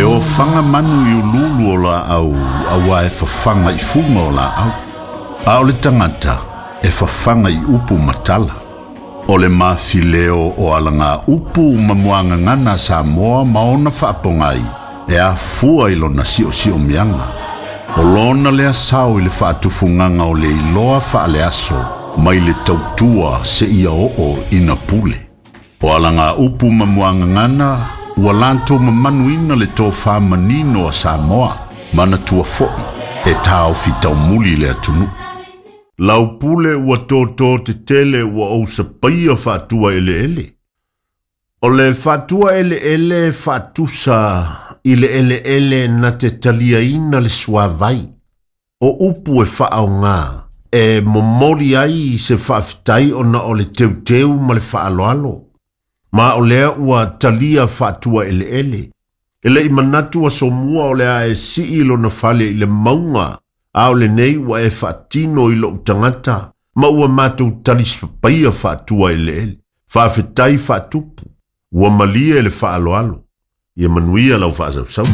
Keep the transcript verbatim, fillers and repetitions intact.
E o whanga manu i ululu o la au, aua e whawhanga i funga o la au. A o le tangata, e whawhanga i upu matala. O le mafileo o alanga upu mamuanga ngana Samoa maona whaapongai, e a fua i lona sio sio mianga. O lona lea sao i le whaatufunganga o le iloa whaaleaso, mai le tautua se ia oo ina pule. O alanga upu mamuanga ngana, ua lanto mamanuina le tō manino a Samoa, mana tua foi, e tāo fitau muli le atunu. Lau pule ua tōtō te tele ua ou sapaia whaatua ele ele. O le whaatua ele ele whaatusa i le ele ele na te talia ina le suavai. O upu e whaau ngā, e momori ai se whaaftai o na o le teuteu ma le whaaloalo. Ma o lea ua talia whaatua ele ele. Ele i manatu a somua o lea e sii lo na fale i le maunga, a o le nei ua e whaatino i lo tangata, ma ua mātou talispapaia whaatua ele ele. Whaafetai whaatupu, ua malia ele whaaloalo. Ia manuia lau whaasau.